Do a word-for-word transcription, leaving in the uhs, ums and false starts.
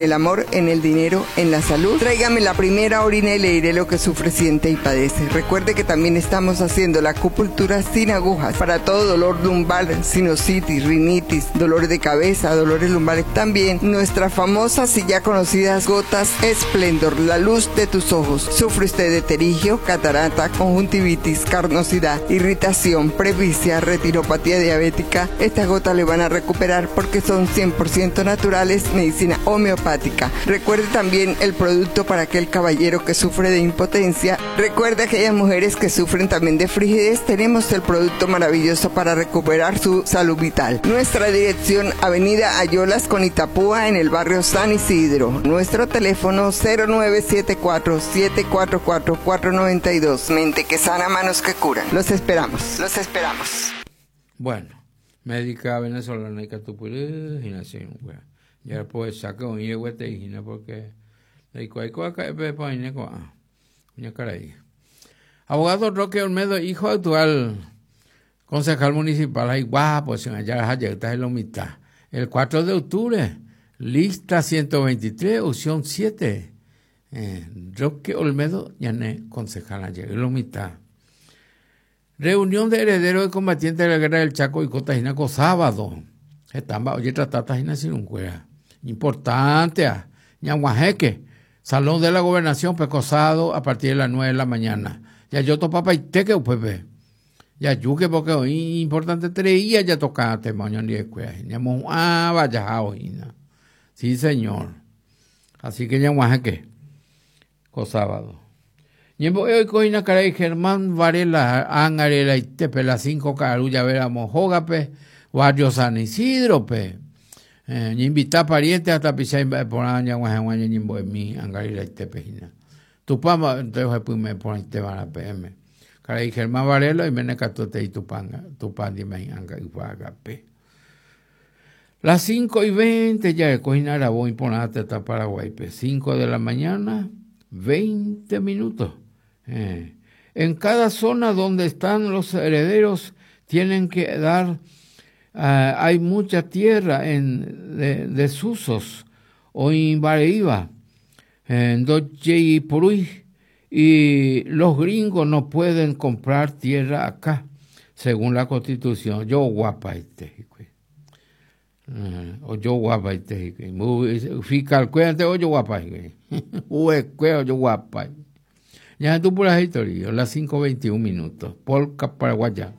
El amor, en el dinero, en la salud. Tráigame la primera orina y le diré lo que sufre, siente y padece. Recuerde que también estamos haciendo la acupuntura sin agujas para todo dolor lumbar, sinusitis, rinitis, dolor de cabeza, dolores lumbares. También nuestras famosas y ya conocidas gotas Esplendor, la luz de tus ojos. Sufre usted de pterigio, catarata, conjuntivitis, carnosidad, irritación, presbicia, retinopatía diabética. Estas gotas le van a recuperar porque son cien por ciento naturales, medicina homeopática. Recuerde también el producto para aquel caballero que sufre de impotencia. Recuerde aquellas mujeres que sufren también de frigidez. Tenemos el producto maravilloso para recuperar su salud vital. Nuestra dirección, Avenida Ayolas con Itapúa, en el barrio San Isidro. Nuestro teléfono cero nueve siete cuatro, siete cuatro cuatro, cuatro noventa y dos. Mente que sana, manos que curan. Los esperamos, los esperamos. Bueno, médica venezolana y catupurú, y nació en Cuba. Ya pues saca un higo de hijina porque le digo, hay cosa que pe pa ine ko, ah, una cara ahí. Abogado Roque Olmedo, hijo actual concejal municipal, ay guapo, se me allá está en la mitad. El cuatro de octubre, lista ciento veintitrés, opción siete. Eh, Roque Olmedo, ya no es concejal ayer, en la mitad. Reunión de herederos de combatientes de la guerra del Chaco y Cotajinaco, sábado. Están, oye, tratata sin un cuera. Importante, ah. Ñaguajeque, Salón de la Gobernación, Pecosado, a partir de las nueve de la mañana. Ya yo topa pa iteque, upepe. Ya yuque, porque hoy importante treía ya tocaba tema, ño ni escuela. Ñamo, ah, vaya, jao, hina. Sí, señor. Así que ñaguajeque, co sábado. Ñembo hoy coina caray Germán Varela, Angarela y Tepe, las cinco carulla, veramos, Jógape, Barrio San Isidro, pe. Eh, invita parientes hasta pisar por año, guaje, guaje, ñimbo de mí, Angarela y Tepe, hina. Tupama, entonces, pues, me pone te van a P M. Caray Germán Varela y mene catote y tupanga, tupandi me anga y paga, pe. Las cinco y veinte ya de cojina la voy por hasta Paraguay, pe. Cinco de la mañana, veinte minutos. Eh, en cada zona donde están los herederos tienen que dar, eh, hay mucha tierra en de, desusos o en Bareiba, en Doche y Puruy, y los gringos no pueden comprar tierra acá, según la Constitución. Yo guapa este, eh, o yo guapa este, fiscal, cuéntate, o yo guapa, o yo guapa. Ya tú por la historia, las cinco veintiún minutos, polca paraguaya.